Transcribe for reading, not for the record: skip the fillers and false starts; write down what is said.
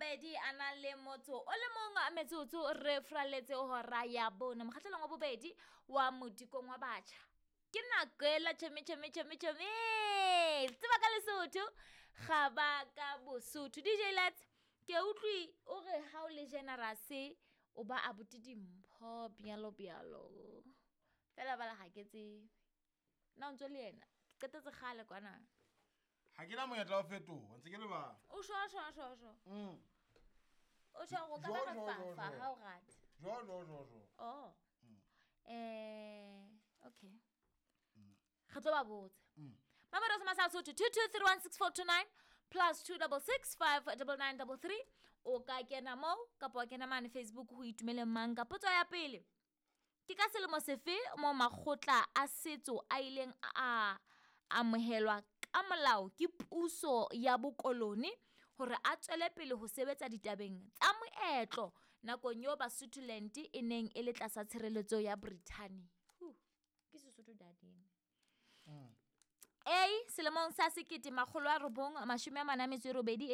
mabedi a nang le motso o le mong metsotso re fraletse hora ya bone mokgatlelong wa bobedi wa modikong wa batjha ke nako ela tšhomi tšhomi tšhomi tšhomi tseba ka lesotho ga ba ka bosotho dj lets ke utlwe o re ga o le generous o ba abuti dimpho bjalo bjalo fela bala ga ke tsebe nna o ntse le yena ke qetetse kgale kwana ga ke na monyetla wa fetoga ntse ke lebala o sho sho sho sho o sho go ka Jo, ba jo, jo, fa jo. ga o rate jo jo jo jo oh okay re tlo ba botsa mamero se masa sotho 22316429 plus 266 o ka kena moo kapa wa kena mane facebook ho itumeleng mang ka potso ya pele ke ka selemo sefe mo makgotla a setso a ileng a amohelwa ka molao ke puso ya bokolone hore a tswele pele ho sebetsa ditabeng tsa moetlo nakong eo Basutoland e neng e le tlasa tshireletso ya Britain. Huh, ke Sesotho dading. A selemong sa 1948.